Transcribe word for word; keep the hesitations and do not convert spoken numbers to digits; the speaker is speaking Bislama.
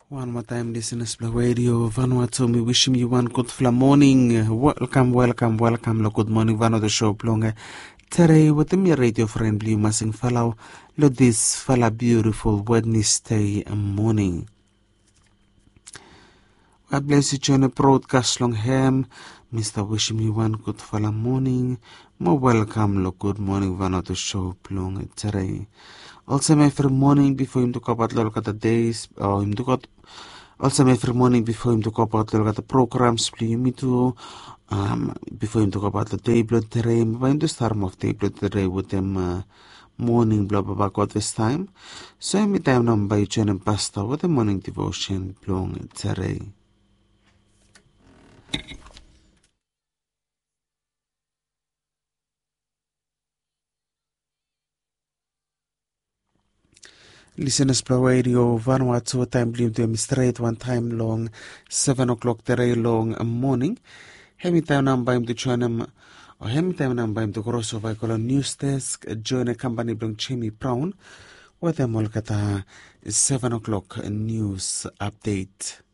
Wan moa taem, lisenas blong redio Vanuatu, mi wisim yu wan gudfala moning. Welkam, welkam, welkam long Gud Moning Vanuatu show blong tede wetem mi, redio fren blong yu, Masing Falau, long disfala biutiful Wednesday moning. God bless yu joinim brodkas long hem. Mi stap wisim yu wan gudfala moning mo welkam long Gud Moning Vanuatu show blong tede. Olsem evri moning bifo yumi tu gobaot long olgeta dei, o yumi tu got olsem evri moning bifo yumi tu gobaot long olgeta programs blong yumi tu, bifo yumi tu gobaot long dei blong tede, bae yumi tu starem of dei blong tede wetem moning blong Baba God fastaem. So hemi taem nao bae yu joinim pasta wetem moning devotion blong tede. Lisenas blong redio Vanuatu, taem blong yumi tu hemi stret wantaem long seven o'clock tede long moning. Hemi taem nao bae yumi tu joinim, o hemi taem nao bae yumi tu krosova i go long nius desk, joinim kampani blong Jemi Braon wetem olgeta seven o'clock nius apdet.